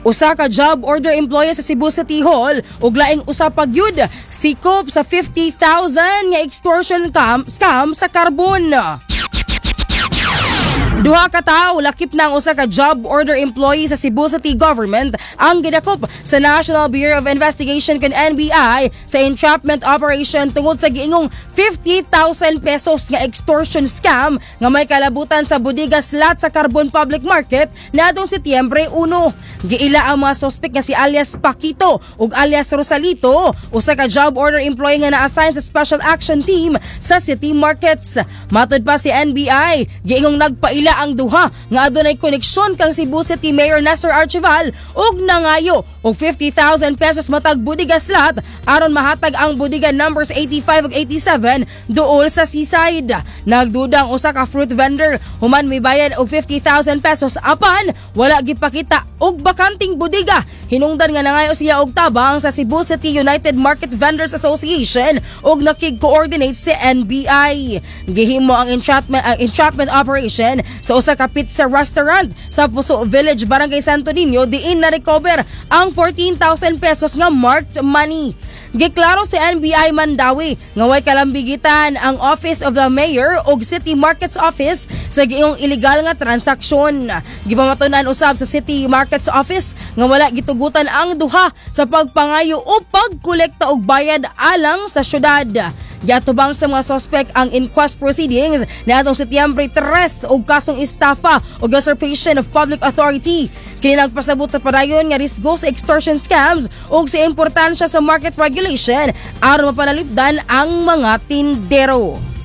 Usa ka job order employee sa Cebu City Hall ug laing usa pa gyud sikop sa 50,000 nga extortion scam sa Carbon. Duha ka tawo, lakip na ang usa ka job order employee sa Cebu City Government, ang gidakop sa National Bureau of Investigation kon NBI sa entrapment operation tungod sa giingong 50,000 pesos nga extortion scam nga may kalabutan sa bodega slot sa Carbon Public Market niadtong Setyembre 1. Giila ang mga suspect nga si alias Paquito ug alias Rosalito, usa ka job order employee nga na-assign sa Special Action Team sa City Markets. Matod pa si NBI, giingong nagpaila ang duha nga adunay koneksyon kang Cebu City Mayor Nestor Archival ug nangayo og 50,000 pesos matag bodega slot aron mahatag ang bodega numbers 85 ug 87 duol sa seaside. Nagduda ang usa ka fruit vendor human mibayad og 50,000 pesos apan wala gipakita og bakanting bodega. Hinungdan nga nangayo siya og tabang sa Cebu City United Market Vendors Association ug nakig-coordinate si NBI. Gihimo ang entrapment operation sa usa ka pizza restaurant sa Puso Village, Barangay Santo Niño, diin na recover ang 14,000 pesos nga marked money. Giklaro si NBI Mandawi nga way kalambigitan ang Office of the Mayor ug City Markets Office sa giingong illegal nga transaksyon. Gipamatunan usab sa City Markets Office nga wala gitugutan ang duha sa pagpangayo o pagkolekta og bayad alang sa syudad. Giatubang sa mga suspect ang inquest proceedings niadtong Setyembre 3 og kasong estafa o usurpation of public authority. Kini nagpasabot sa padayon nga risgo sa extortion scams ug sa importansya sa market regulation aron mapanalipdan ang mga tindero.